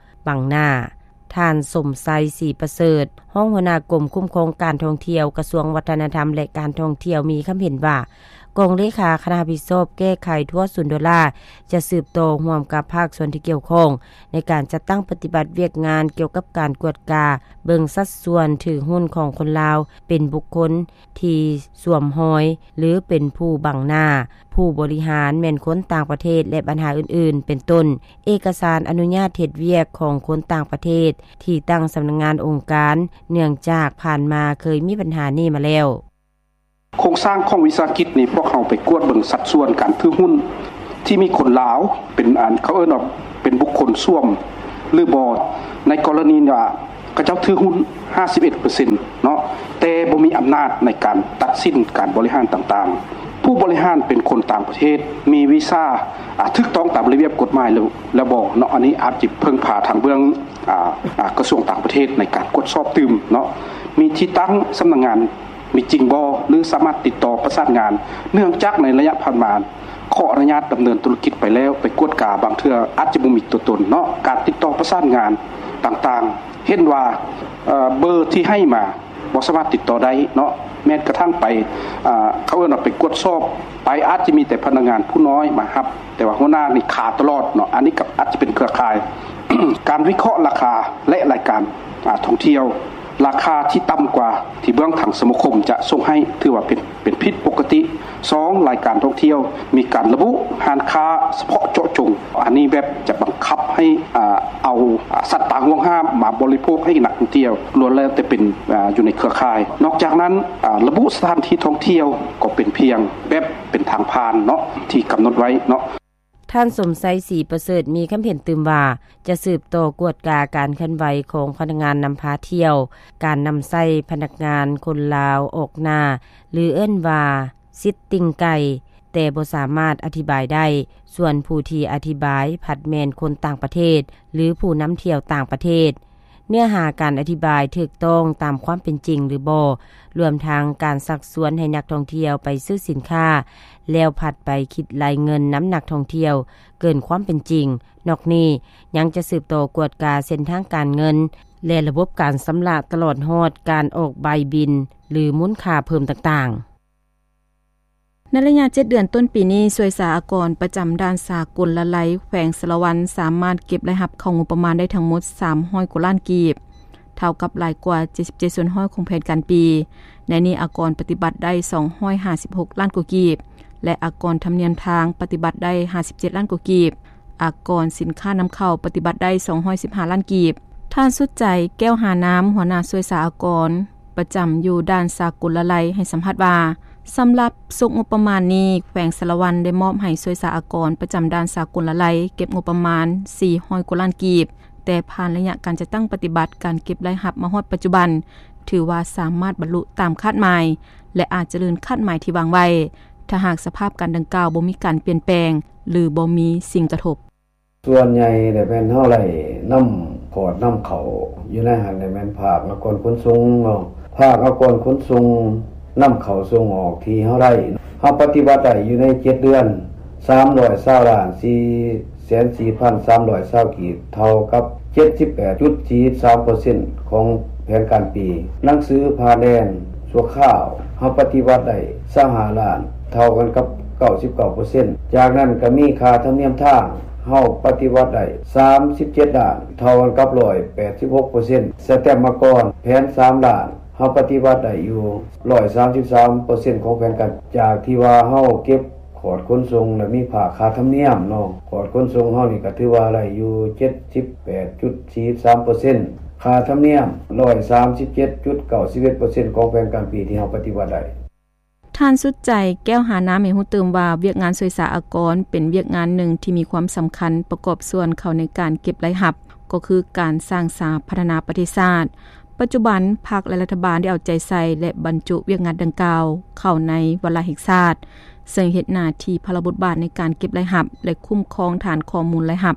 ບັງໜ້າ. ທ່ານ ສົມໄຊ ສີປະເສີດ ຮອງຫົວໜ້າກົມຄຸ້ມຄອງການທ່ອງທ່ຽວ ກະຊວງວັດທະນະທຳ ແລະ ການທ່ອງທ່ຽວ ມີຄຳເຫັນວ່າ ກອງເລຂາຄະນະຮັບຜິດຊອບແກ້ໄຂທົ່ວສູນໂດລາ ຈະສືບຕໍ່ຮ່ວມກັບພາກສ່ວນທີ່ກ່ຽວຂ້ອງ ໃນການຈັດຕັ້ງປະຕິບັດວຽກງານກ່ຽວກັບການກວດກາເບິ່ງສັດສ່ວນຖືຫຸ້ນຂອງຄົນລາວ ເປັນບຸກຄົນທີ່ສວມຮອຍ ຫຼື ເປັນຜູ້ບັງໜ້າ, ຜູ້ບໍລິຫານແມ່ນຄົນຕ່າງປະເທດ ແລະ ບັນຫາອື່ນໆ ເປັນຕົ້ນ ເອກະສານອະນຸຍາດເຮັດວຽກຂອງຄົນຕ່າງປະເທດທີ່ຕັ້ງສຳນັກງານອົງການ ເນື່ອງຈາກຜ່ານມາເຄີຍມີບັນຫານີ້ມາແລ້ວ. ໂຄງສ້າງຂອງວິສາຫະກິດນີ້ ພວກເຮົາໄປກວດເບິ່ງສັດສ່ວນການຖືຫຸ້ນທີ່ມີຄົນລາວເປັນ ອັນ ເຂົາເອີ້ນວ່າເປັນບຸກຄົນສວມ ຫຼື ບໍ່. ໃນກໍລະນີວ່າ ເຂົາເຈົ້າຖືຫຸ້ນຫ້າສິບເອັດເປີເຊັນເນາະ ແຕ່ບໍ່ມີອຳນາດໃນການຕັດສິນການບໍລິຫານຕ່າງໆ. ຜູ້ບໍລິຫານເປັນຄົນຕ່າງປະເທດ ມີວີຊາ ອາ ຖືກຕ້ອງຕາມລະບຽບກົດໝາຍແລ້ວ ແລ້ວບໍ່ເນາະ. ອັນນີ້ອາດຈະເພິ່ງພາທາງເບື້ອງ ອາ ອາ ກະຊວງຕ່າງປະເທດໃນການກວດສອບຕື່ມເນາະ. ມີທີ່ຕັ້ງສຳນັກງານ ມີຈິງບໍ່ ຫຼື ສາມາດຕິດຕໍ່ປະສານງານ ເນື່ອງຈາກໃນໄລຍະຜ່ານມາ ຂໍອະນຸຍາດດຳເນີນທຸລະກິດໄປແລ້ວ ໄປກວດກາ ບາງເທື່ອອາດຈະບໍ່ມີຕົວຕົນເນາະ. ການຕິດຕໍ່ປະສານງານຕ່າງໆ ເຫັນວ່າ ເອີ ເບີທີ່ໃຫ້ມາບໍ່ສາມາດຕິດຕໍ່ໄດ້ເນາະ. ແມ່ນກະທັ່ງໄປ ເອີ ເຂົາເອີ້ນວ່າໄປກວດສອບໄປ ອາດຈະມີແຕ່ພະນັກງານຜູ້ນ້ອຍມາຮັບ ແຕ່ວ່າຫົວໜ້ານີ້ຄາຕະຫຼອດເນາະ. ອັນນີ້ກໍອາດຈະເປັນເຄືອຂ່າຍ ການວິເຄາະລາຄາ ແລະ ລາຍການ ອາ ທ່ອງທ່ຽວ ລາຄາທີ່ຕ່ຳກວ່າທີ່ເບື້ອງທາງສະມາຄົມຈະສົ່ງໃຫ້ ຖືວ່າເປັນ ເປັນຜິດປົກກະຕິ. ສອງ ລາຍການທ່ອງທ່ຽວມີການລະບຸຮ້ານຄ້າສະເພາະເຈາະຈົງ ອັນນີ້ແບບຈະບັງຄັບໃຫ້ ອາ ເອົາ ອາ ສັດປ່າຫວງຫ້າມມາບໍລິໂພກໃຫ້ນັກທ່ອງທ່ຽວ ລ້ວນແລ້ວແຕ່ເປັນ ອາ ຢູ່ໃນເຄືອຂ່າຍ. ນອກຈາກນັ້ນ ອາ ລະບຸສະຖານທີ່ທ່ອງທ່ຽວກໍເປັນພຽງແບບເປັນທາງຜ່ານເນາະ ທີ່ກຳນົດໄວ້ເນາະ. ທ່ານ ສົມໄຊ ສີປະເສີດ ມີຄຳເຫັນຕື່ມວ່າ ຈະສືບຕໍ່ກວດກາການເຄື່ອນໄຫວຂອງພະນັກງານນຳພາທ່ຽວ, ການນຳໃຊ້ພະນັກງານຄົນລາວອອກໜ້າ ຫຼື ເອີ້ນວ່າ ຊິດຕິງໄກ່ ແຕ່ບໍ່ສາມາດອະທິບາຍໄດ້, ສ່ວນຜູ້ທີ່ອະທິບາຍພັດແມ່ນຄົນຕ່າງປະເທດ ຫຼື ຜູ້ນຳທ່ຽວຕ່າງປະເທດ. ເນື້ອຫາການອະທິບາຍຖືກຕ້ອງຕາມຄວາມເປັນຈິງຫຼືບໍ່, ລວມທັງການຊັກຊວນໃຫ້ນັກທ່ອງທ່ຽວໄປຊື້ສິນຄ້າ ແລ້ວພັດໄປຄິດໄລ່ເງິນນຳນັກທ່ອງທ່ຽວເກີນຄວາມເປັນຈິງ. ນອກນີ້ຍັງຈະສືບຕໍ່ກວດກາເສັ້ນທາງການເງິນ ແລະ ລະບົບການຊຳລະ ຕະຫຼອດຮອດການອອກໃບບິນ ຫຼື ມູນຄ່າເພີ່ມຕ່າງໆ. ໃນໄລຍະເຈັດເດືອນຕົ້ນປີນີ້, ສ່ວຍສາອາກອນປະຈຳດ່ານສາກົນລະໄລແຂວງສາລະວັນ ສາມາດເກັບລາຍຮັບເຂົ້າງົບປະມານໄດ້ທັງໝົດສາມຮ້ອຍກວ່າລ້ານກີບ, ເທົ່າກັບຫຼາຍກວ່າເຈັດສິບເຈັດສ່ວນຮ້ອຍຂອງແຜນການປີ. ໃນນີ້ອາກອນປະຕິບັດໄດ້ສອງຮ້ອຍຫ້າສິບຫົກລ້ານກວ່າກີບ ແລະ ອາກອນທຳນຽມທາງປະຕິບັດໄດ້ຫ້າສິບເຈັດລ້ານກວ່າກີບ, ອາກອນສິນຄ້ານຳເຂົ້າປະຕິບັດໄດ້ສອງຮ້ອຍສິບຫ້າລ້ານກີບ. ທ່ານ ສຸດໃຈ ແກ້ວຫານາມ ຫົວໜ້າສ່ວຍສາອາກອນ ປະຈຳຢູ່ດ່ານສາກົນລະໄລ ໃຫ້ສຳພາດວ່າ, ສຳລັບສົກງົບປະມານນີ້ ແຂວງສາລະວັນໄດ້ມອບໃຫ້ສ່ວຍສາອາກອນປະຈຳດ່ານສາກົນລະໄລເກັບງົບປະມານສີ່ຮ້ອຍກວ່າລ້ານກີບ, ແຕ່ຜ່ານໄລຍະການຈັດຕັ້ງປະຕິບັດການເກັບລາຍຮັບມາຮອດປັດຈຸບັນ ຖືວ່າສາມາດບັນລຸຕາມຄາດໝາຍ ແລະ ອາດຈະເລີນຄາດໝາຍທີ່ວາງໄວ້, ຖ້າຫາກສະພາບການດັ່ງກ່າວບໍ່ມີການປ່ຽນແປງ ຫຼື ບໍ່ມີສິ່ງກະທົບ. ສ່ວນໃຫຍ່ແລ້ວແມ່ນເຮົາໄລ່ນຳຂອດນຳເຂົ້າຢູ່ໃນຫັ້ນແຫຼະ ແມ່ນພາກອາກອນຂົນສົ່ງເນາະ, ພາກອາກອນຂົນສົ່ງນຳເຂົ້າສົ່ງອອກທີ່ເຮົາໄດ້ ເຮົາປະຕິບັດໄດ້ຢູ່ໃນເຈັດເດືອນ ສາມຮ້ອຍຊາວລ້ານ ສີ່ ແສນສີ່ພັນສາມຮ້ອຍຊາວກີບ ເທົ່າກັບເຈັດສິບແປດຈຸດສີ່ສາມເປີເຊັນຂອງແຜນການປີ. ໜັງສືຜ່ານແດນຊົ່ວຄາວ ເຮົາປະຕິບັດໄດ້ຊາວຫ້າລ້ານ ເທົ່າກັນກັບເກົ້າສິບເກົ້າເປີເຊັນ. ຈາກນັ້ນກໍມີຄ່າທຳນຽມທາງ ເຮົາປະຕິບັດໄດ້ສາມສິບເຈັດລ້ານ ເທົ່າກັນກັບຮ້ອຍແປດສິບຫົກເປີເຊັນ. ສະແຕັມມາກອນ ແຜນສາມລ້ານ ເຮົາປະຕິບັດໄດ້ຢູ່ຮ້ອຍສາມສິບສາມເປີເຊັນຂອງແຜນການ. ຈາກທີ່ວ່າເຮົາເກັບ ຂອດຂົນສົ່ງ ແລະ ມີພາກຄ່າທຳນຽມເນາະ, ຂອດຂົນສົ່ງເຮົານີ້ກໍຖືວ່າໄດ້ຢູ່ເຈັດສິບແປດຈຸດສີ່ສາມເປີເຊັນ, ຄ່າທຳນຽມຮ້ອຍສາມສິບເຈັດຈຸດເກົ້າສິບເອັດເປີເຊັນຂອງແຜນການປີທີ່ເຮົາປະຕິບັດໄດ້. ທ່ານສຸດໃຈ ແກ້ວຫານາ ໃຫ້ຮູ້ຕື່ມວ່າ ວຽກງານຊ່ວຍສາອາກອນ ເປັນວຽກງານໜຶ່ງທີ່ມີຄວາມສຳຄັນ ປະກອບສ່ວນເຂົ້າໃນການເກັບລາຍຮັບ ກໍຄືການສ້າງສາພັດທະນາປະເທດຊາດ. ປັດຈຸບັນ ພັກ ແລະ ລັດຖະບານໄດ້ເອົາໃຈໃສ່ ແລະ ບັນຈຸວຽກງານດັ່ງກ່າວເຂົ້າໃນວາລະແຫ່ງຊາດ, ເຊິ່ງເຮັດໜ້າທີ່ພາລະບົດບາດໃນການເກັບລາຍຮັບ ແລະ ຄຸ້ມຄອງຖານຂໍ້ມູນລາຍຮັບ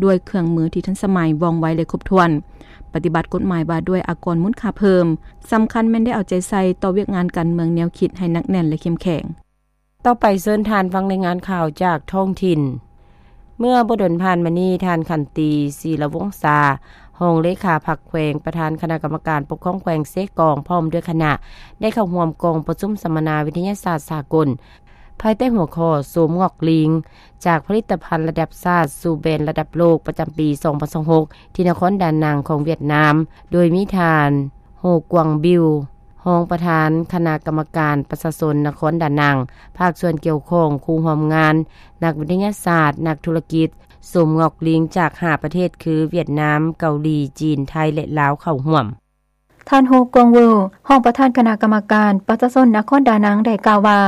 ດ້ວຍເຄື່ອງມືທີ່ທັນສະໄໝ, ວ່ອງໄວ ແລະ ຄົບຖ້ວນ, ປະຕິບັດກົດໝາຍວ່າດ້ວຍອາກອນມູນຄ່າເພີ່ມ. ສຳຄັນແມ່ນໄດ້ເອົາໃຈໃສ່ຕໍ່ວຽກງານການເມືອງແນວຄິດໃຫ້ໜັກແໜ້ນ ແລະ ເຂັ້ມແຂງ. ຕໍ່ໄປເຊີນທ່ານຟັງລາຍງານຂ່າວຈາກທ້ອງຖິ່ນ. ເມື່ອບໍ່ດົນຜ່ານມານີ້, ທ່ານ ຂັນຕີ ສີລະວົງສາ ຮອງເລຂາພັກແຂວງ, ປະທານຄະນະກຳມະການປົກຄອງແຂວງເຊກອງ ພ້ອມດ້ວຍຄະນະ ໄດ້ເຂົ້າຮ່ວມກອງປະຊຸມສຳມະນາວິທະຍາສາດສາກົນ ພາຍໃຕ້ຫົວຂໍ້ ໂສມງອກລິງ ຈາກຜະລິດຕະພັນລະດັບຊາດສູ່ແບຣນລະດັບໂລກ ປະຈຳປີສອງພັນຊາວຫົກ ທີ່ນະຄອນດານັງຂອງຫວຽດນາມ, ໂດຍມີທ່ານ ໂຮກວາງບິວ ຮອງປະທານຄະນະກຳມະການປະຊາຊົນນະຄອນດານັງ, ພາກສ່ວນກ່ຽວຂ້ອງ, ຄູ່ຮ່ວມງານ, ນັກວິທະຍາສາດ, ນັກທຸລະກິດ, ໂສມງອກລິງຈາກຫ້າປະເທດຄື ຫວຽດນາມ, ເກົາຫຼີ, ຈີນ, ໄທ ແລະ ລາວ ເຂົ້າຮ່ວມ. ທ່ານ ໂຮກວາງເວີ ຮອງປະທານຄະນະກຳມະການປະຊາຊົນນະຄອນດານັງ ໄດ້ກ່າວວ່າ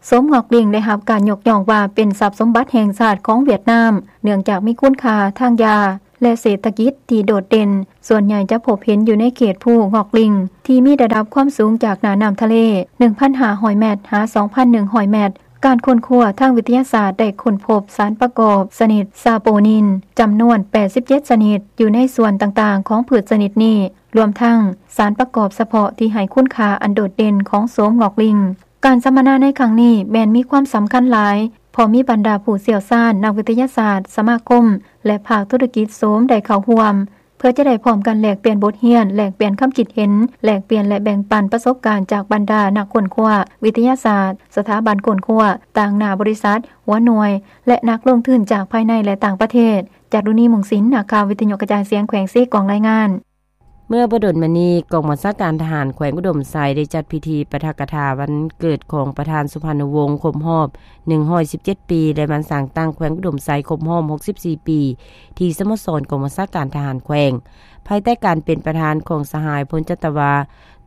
ໂສມງອກລິງໄດ້ຮັບການຍົກຍ້ອງວ່າເປັນຊັບສົມບັດແຫ່ງຊາດຂອງຫວຽດນາມ, ເນື່ອງຈາກມີຄຸນຄ່າທາງຢາ ແລະ ເສດຖະກິດທີ່ໂດດເດັ່ນ, ສ່ວນໃຫຍ່ຈະພົບເຫັນຢູ່ໃນເຂດພູງອກລິງ ທີ່ມີລະດັບຄວາມສູງຈາກໜ້ານ້ຳທະເລ ໜຶ່ງພັນຫ້າຮ້ອຍແມັດ ຫາ ສອງພັນໜຶ່ງຮ້ອຍແມັດ. ການຄົ້ນຄວ້າທາງວິທະຍາສາດໄດ້ຄົ້ນພົບສານປະກອບຊະນິດຊາໂປນິນ ຈຳນວນແປດສິບເຈັດຊະນິດ ຢູ່ໃນສ່ວນຕ່າງໆຂອງພືດຊະນິດນີ້, ລວມທັງສານປະກອບສະເພາະທີ່ໃຫ້ຄຸນຄ່າອັນໂດດເດັ່ນຂອງໂສມງອກລິງ. ການສຳມະນາໃນຄັ້ງນີ້ແມ່ນມີຄວາມສຳຄັນຫຼາຍ, ເພາະມີບັນດາຜູ້ຊ່ຽວຊານ, ນັກວິທະຍາສາດ, ສະມາຄົມ ແລະ ພາກທຸລະກິດໂສມໄດ້ເຂົ້າຮ່ວມ, ເພື່ອຈະໄດ້ພ້ອມກັນແລກປ່ຽນບົດຮຽນ, ແລກປ່ຽນຄຳຄິດເຫັນ, ແລກປ່ຽນ ແລະ ແບ່ງປັນປະສົບການຈາກບັນດານັກຄົ້ນຄວ້າວິທະຍາສາດ, ສະຖາບັນຄົ້ນຄວ້າ, ຕາງໜ້າບໍລິສັດ, ຫົວໜ່ວຍ ແລະ ນັກລົງທຶນຈາກພາຍໃນ ແລະ ຕ່າງປະເທດ. ຈາລຸນີ ມຸງສິນ, ນັກຂ່າວວິທະຍຸກະຈາຍສຽງແຂວງເຊກອງ ລາຍງານ. ເມື່ອບໍ່ດົນມານີ້, ກອງບັນຊາການທະຫານແຂວງອຸດົມໄຊ ໄດ້ຈັດພິທີປາຖະກະຖາວັນເກີດຂອງປະທານສຸພານຸວົງ ຄົບຮອບໜຶ່ງຮ້ອຍສິບເຈັດປີ ແລະ ວັນສ້າງຕັ້ງແຂວງອຸດົມໄຊ ຄົບຮອບຫົກສິບສີ່ປີ ທີ່ສະໂມສອນກອງບັນຊາການທະຫານແຂວງ, ພາຍໃຕ້ການເປັນປະທານຂອງສະຫາຍ ພົນຈັດຕະວາ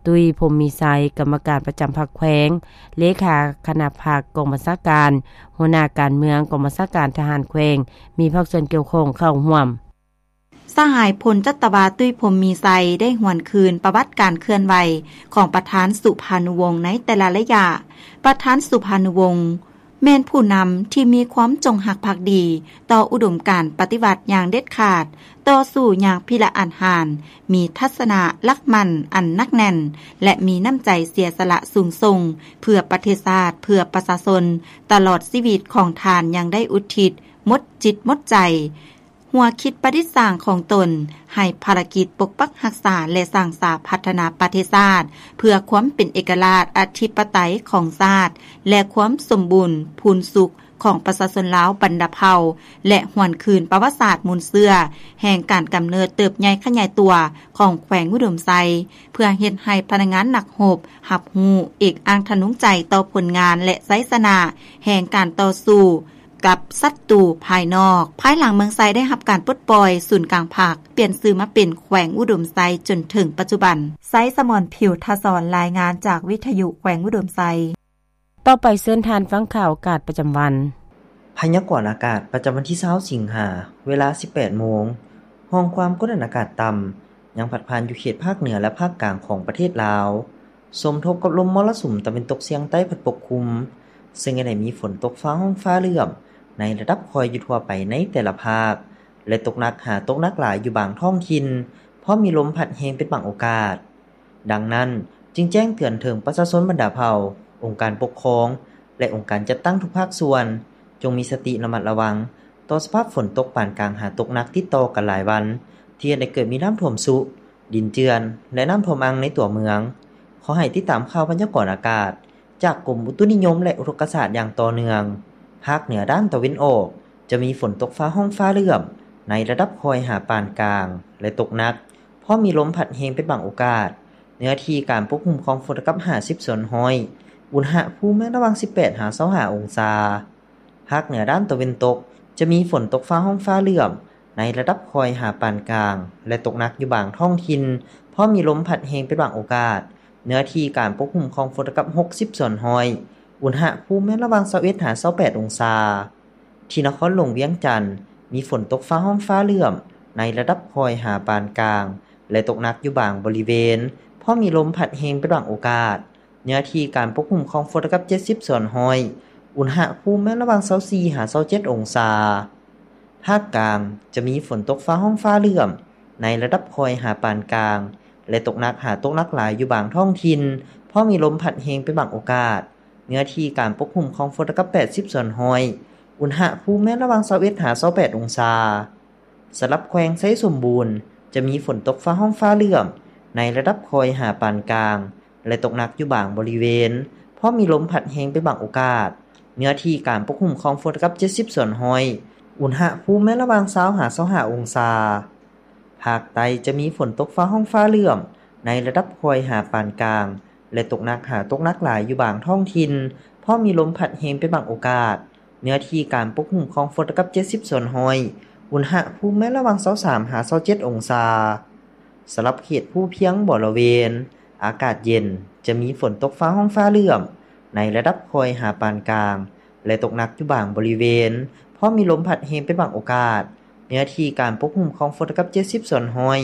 ຕຸ້ຍ ພົມມີໄຊ ກຳມະການປະຈຳພັກແຂວງ, ເລຂາຄະນະພັກກອງບັນຊາການ, ຫົວໜ້າການເມືອງກອງບັນຊາການທະຫານແຂວງ, ມີພາກສ່ວນກ່ຽວຂ້ອງເຂົ້າຮ່ວມ. ສະຫາຍ ພົນຈັດຕະວາ ຕຸ້ຍ ພົມມີໄຊ ໄດ້ຫວນຄືນປະຫວັດການເຄື່ອນໄຫວຂອງປະທານສຸພານຸວົງໃນແຕ່ລະໄລຍະ. ປະທານສຸພານຸວົງ ແມ່ນຜູ້ນຳທີ່ມີຄວາມຈົງຮັກພັກດີຕໍ່ອຸດົມການປະຕິວັດຢ່າງເດັດຂາດ, ຕໍ່ສູ້ຢ່າງພິລະອາດຫານ, ມີທັດສະນະຫຼັກໝັ້ນອັນໜັກແໜ້ນ ແລະ ມີນ້ຳໃຈເສຍສະຫຼະສູງສົ່ງ ເພື່ອປະເທດຊາດ, ເພື່ອປະຊາຊົນ, ຕະຫຼອດຊີວິດຂອງທ່ານຍັງໄດ້ອຸທິດໝົດຈິດໝົດໃຈ, ຫົວຄິດປະດິດສ້າງຂອງຕົນໃຫ້ພາລະກິດປົກປັກຮັກສາ ແລະ ສ້າງສາພັດທະນາປະເທດຊາດ ເພື່ອຄວາມເປັນເອກະລາດອະທິປະໄຕຂອງຊາດ ແລະ ຄວາມສົມບູນພູນສຸກຂອງປະຊາຊົນລາວບັນດາເຜົ່າ ແລະ ຫວນຄືນປະຫວັດສາດມູນເຊື້ອແຫ່ງການກຳເນີດເຕີບໃຫຍ່ຂະຫຍາຍຕົວຂອງແຂວງອຸດົມໄຊ ເພື່ອເຮັດໃຫ້ພະນັກງານນັກຮົບຮັບຮູ້ເອກອ້າງທະນົງໃຈຕໍ່ຜົນງານ ແລະ ໄຊຊະນະແຫ່ງການຕໍ່ສູ້ ກັບສັດຕູພາຍນອກ. ພາຍຫຼັງເມືອງໄຊໄດ້ຮັບການປົດປ່ອຍ, ສູນກາງພັກປ່ຽນຊື່ມາເປັນແຂວງອຸດົມໄຊຈົນເຖິງປັດຈຸບັນ. ໄຊສະໝອນ ຜິວທະສອນ ລາຍງານຈາກວິທະຍຸແຂວງອຸດົມໄຊ. ຕໍ່ໄປເຊີນທ່ານຟັງຂ່າວອາກາດປະຈຳວັນ. ພະຍາກອນອາກາດປະຈຳວັນທີຊາວສິງຫາ ເວລາສິບແປດໂມງ, ຮ່ອງຄວາມກົດອາກາດຕ່ຳຍັງພັດຜ່ານຢູ່ເຂດພາກເໜືອ ແລະ ພາກກາງຂອງປະເທດລາວ. ສົມທົບກັບລົມມໍລະສຸມຕາເວັນຕົກສຽງໃຕ້ພັດປົກຄຸມ, ເຊິ່ງຈະໄດ້ມີຝົນຕົກຟ້າຮ້ອງຟ້າເຫຼື້ອມໃນລະດັບຄ່ອຍຢູ່ທົ່ວໄປໃນແຕ່ລະພາກ ແລະ ຕົກໜັກຫາຕົກໜັກຫຼາຍຢູ່ບາງທ້ອງຖິ່ນ, ພ້ອມມີລົມພັດແຮງເປັນບາງໂອກາດ. ດັ່ງນັ້ນ, ຈຶ່ງແຈ້ງເຕືອນເຖິງປະຊາຊົນບັນດາເຜົ່າ, ອົງການປົກຄອງ ແລະ ອົງການຈັດຕັ້ງທຸກພາກສ່ວນ, ຈົ່ງມີສະຕິລະມັດລະວັງ ຕໍ່ສະພາບຝົນຕົກປານກາງຫາຕົກໜັກຕິດຕໍ່ກັນຫຼາຍວັນ ທີ່ເຮັດໃຫ້ເກີດມີນ້ຳຖ້ວມຊຸ, ດິນເຈື່ອນ ແລະ ນ້ຳຖ້ວມອັ່ງໃນຕົວເມືອງ. ຂໍໃຫ້ຕິດຕາມຂ່າວພະຍາກອນອາກາດຈາກກົມອຸຕຸນິຍົມ ແລະ ອຸທົກກະສາດຢ່າງຕໍ່ເນື່ອງ. ພາກເໜືອດ້ານຕາເວັນອອກ ຈະມີຝົນຕົກຟ້າຮ້ອງຟ້າເຫຼື້ອມໃນລະດັບຄ່ອຍຫາປານກາງ ແລະ ຕົກໜັກ, ພ້ອມມີລົມພັດແຮງເປັນບາງໂອກາດ. ເນື້ອທີ່ການປົກຄຸມຂອງຝົນເທົ່າກັບຫ້າສິບສ່ວນຮ້ອຍ, ອຸນຫະພູມແມ່ນລະຫວ່າງສິບແປດຫາຊາວຫ້າອົງສາ. ພາກເໜືອດ້ານຕາເວັນຕົກ ຈະມີຝົນຕົກຟ້າຮ້ອງຟ້າເຫຼື້ອມໃນລະດັບຄ່ອຍຫາປານກາງ ແລະ ຕົກໜັກຢູ່ບາງທ້ອງຖິ່ນ, ພ້ອມມີລົມພັດແຮງເປັນບາງໂອກາດ. ເນື້ອທີ່ການປົກຄຸມຂອງຝົນເທົ່າກັບຫົກສິບສ່ວນຮ້ອຍ, ອຸນຫະພູມແມ່ນລະຫວ່າງຊາວເອັດຫາຊາວແປດອົງສາ. ທີ່ນະຄອນຫຼວງວຽງຈັນ ມີຝົນຕົກຟ້າຮ້ອງຟ້າເຫຼື້ອມໃນລະດັບຄ່ອຍຫາປານກາງ ແລະ ຕົກໜັກຢູ່ບາງບໍລິເວນ, ພ້ອມມີລົມພັດແຮງເປັນບາງໂອກາດ. ເນື້ອທີ່ການປົກຄຸມຂອງຝົນເທົ່າກັບເຈັດສິບສ່ວນຮ້ອຍ, ອຸນຫະພູມແມ່ນລະຫວ່າງຊາວສີ່ຫາຊາວເຈັດອົງສາ. ພາກກາງ ຈະມີຝົນຕົກຟ້າຮ້ອງຟ້າເຫຼື້ອມໃນລະດັບຄ່ອຍຫາປານກາງ ແລະ ຕົກໜັກຫາຕົກໜັກຫຼາຍຢູ່ບາງທ້ອງຖິ່ນ, ພ້ອມມີລົມພັດແຮງເປັນບາງໂອກາດ. ເນື້ອທີ່ການປົກຄຸມຂອງຝົນເທົ່າກັບແປດສິບສ່ວນຮ້ອຍ, ອຸນຫະພູມແມ່ນລະຫວ່າງຊາວເອັດຫາຊາວແປດອົງສາ. ສຳລັບແຂວງໄຊສົມບູນ ຈະມີຝົນຕົກຟ້າຮ້ອງຟ້າເຫຼື້ອມໃນລະດັບຄ່ອຍຫາປານກາງ ແລະ ຕົກໜັກຢູ່ບາງບໍລິເວນ, ພ້ອມມີລົມພັດແຮງເປັນບາງໂອກາດ. ເນື້ອທີ່ການປົກຄຸມຂອງຝົນເທົ່າກັບເຈັດສິບສ່ວນຮ້ອຍ, ອຸນຫະພູມແມ່ນລະຫວ່າງຊາວຫາຊາວຫ້າອົງສາ. ພາກໃຕ້ຈະມີຝົນຕົກຟ້າຮ້ອງຟ້າເຫຼື້ອມໃນລະດັບຄ່ອຍຫາປານກາງ ແລະ ຕົກໜັກຫາຕົກໜັກຫຼາຍຢູ່ບາງທ້ອງຖິ່ນ, ພ້ອມມີລົມພັດແຮງເປັນບາງໂອກາດ. ເນື້ອທີ່ການປົກຄຸມຂອງຝົນເທົ່າກັບເຈັດສິບສ່ວນຮ້ອຍ, ອຸນຫະພູມແມ່ນລະຫວ່າງຊາວສາມຫາຊາວເຈັດອົງສາ. ສຳລັບເຂດພູພຽງບໍລະເວນ ອາກາດເຢັນ, ຈະມີຝົນຕົກຟ້າຮ້ອງຟ້າເຫຼື້ອມໃນລະດັບຄ່ອຍຫາປານກາງ ແລະ ຕົກໜັກຢູ່ບາງບໍລິເວນ, ພ້ອມມີລົມພັດແຮງເປັນບາງໂອກາດ. ເນື້ອທີ່ການປົກຄຸມຂອງຝົນເທົ່າກັບເຈັດສິບສ່ວນຮ້ອຍ,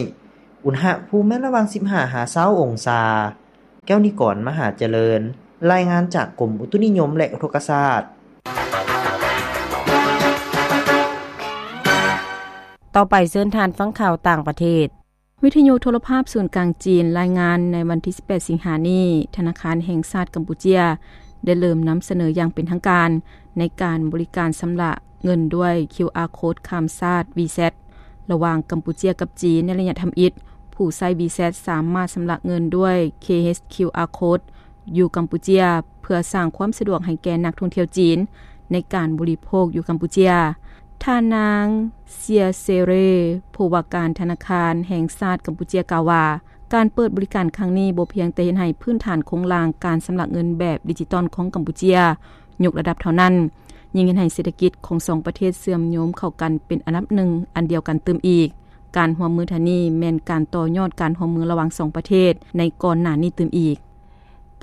ອຸນຫະພູມແມ່ນລະຫວ່າງສິບຫ້າຫາຊາວອົງສາ. ແກ້ວນິກອນ ມະຫາຈະເລີນ, ລາຍງານຈາກກົມອຸຕຸນິຍົມ ແລະ ອຸທົກກະສາດ. ຕໍ່ໄປເຊີນທ່ານຟັງຂ່າວຕ່າງປະເທດ. ວິທະຍຸໂທລະພາບສູນກາງຈີນລາຍງານໃນວັນທີສິບແປດສິງຫານີ້, ທະນາຄານແຫ່ງຊາດກຳປູເຈຍ ໄດ້ເລີ່ມນຳສະເໜີຢ່າງເປັນທາງການ ໃນການບໍລິການຊຳລະເງິນດ້ວຍຄິວອາໂຄດຂ້າມຊາດ WeChat ລະຫວ່າງກຳປູເຈຍກັບຈີນໃນໄລຍະທຳອິດ. ຜູ້ໃຊ້ WeChat ສາມາດຊຳລະເງິນດ້ວຍ KHQR Code ຢູ່ກຳປູເຈຍ ເພື່ອສ້າງຄວາມສະດວກໃຫ້ແກ່ນັກທ່ອງທ່ຽວຈີນໃນການບໍລິໂພກຢູ່ກຳປູເຈຍ. ທ່ານນາງ ເຊຍ ເຊເຣ ຜູ້ວ່າການທະນາຄານແຫ່ງຊາດກຳປູເຈຍ ກ່າວວ່າ ການເປີດບໍລິການຄັ້ງນີ້ບໍ່ພຽງແຕ່ເຮັດໃຫ້ພື້ນຖານໂຄງລ່າງການຊຳລະເງິນແບບດິຈິຕອນຂອງກຳປູເຈຍຍົກລະດັບເທົ່ານັ້ນ, ຍັງເຮັດໃຫ້ເສດຖະກິດຂອງສອງປະເທດເຊື່ອມໂຍງເຂົ້າກັນເປັນອັນດັບໜຶ່ງອັນດຽວກັນຕື່ມອີກ. ການຮ່ວມມືທ່ານນີ້ແມ່ນການຕໍ່ຍອດການຮ່ວມມືລະຫວ່າງສອງປະເທດໃນກ່ອນໜ້ານີ້ຕື່ມອີກ.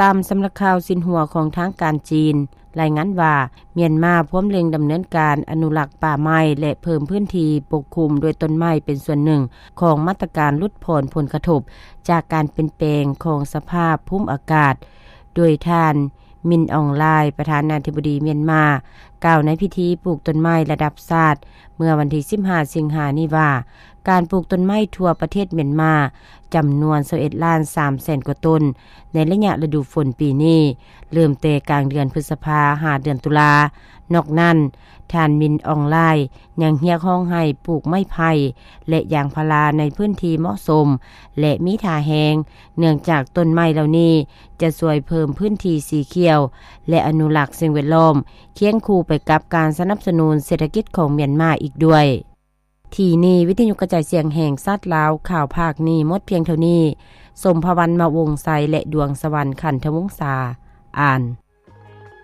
ຕາມສຳນັກຂ່າວຊິນຫົວຂອງທາງການຈີນ ລາຍງານວ່າ ມຽນມາພວມເລັ່ງດຳເນີນການອະນຸລັກປ່າໄມ້ ແລະ ເພີ່ມພື້ນທີ່ປົກຄຸມດ້ວຍຕົ້ນໄມ້ເປັນສ່ວນໜຶ່ງຂອງມາດຕະການຫຼຸດຜ່ອນຜົນກະທົບຈາກການປ່ຽນແປງຂອງສະພາບພູມອາກາດ, ໂດຍທ່ານ ມິນ ອອງ ລາຍ ປະທານາທິບໍດີມຽນມາ ກ່າວໃນພິທີປູກຕົ້ນໄມ້ລະດັບຊາດ ເມື່ອວັນທີສິບຫ້າສິງຫານີ້ວ່າ ການປູກຕົ້ນໄມ້ທົ່ວປະເທດມຽນມາ ຈຳນວນຊາວເອັດລ້ານສາມແສນກວ່າຕົ້ນ ໃນໄລຍະລະດູຝົນປີນີ້ ເລີ່ມແຕ່ກາງເດືອນພຶດສະພາ ຫາເດືອນຕຸລາ. ນອກນັ້ນ, ທ່ານ ມິນ ອອງ ລາຍ ຍັງຮຽກຮ້ອງໃຫ້ປູກໄມ້ໄຜ່ ແລະ ຢາງພາລາໃນພື້ນທີ່ເໝາະສົມ ແລະ ມີທ່າແຮງ, ເນື່ອງຈາກຕົ້ນໄມ້ເຫຼົ່ານີ້ຈະຊ່ວຍເພີ່ມພື້ນທີ່ສີຂຽວ ແລະ ອະນຸລັກສິ່ງແວດລ້ອມ ຄຽງຄູ່ໄປກັບການສະໜັບສະໜູນເສດຖະກິດຂອງມຽນມາອີກດ້ວຍ. ທີ່ນີ້ ວິທະຍຸກະຈາຍສຽງແຫ່ງຊາດລາວ ຂ່າວພາກນີ້ໝົດພຽງເທົ່ານີ້. ສົມພະວັນ ມະວົງໄຊ ແລະ ດວງສະຫວັນ ຂັນທະວົງສາ ອ່ານ.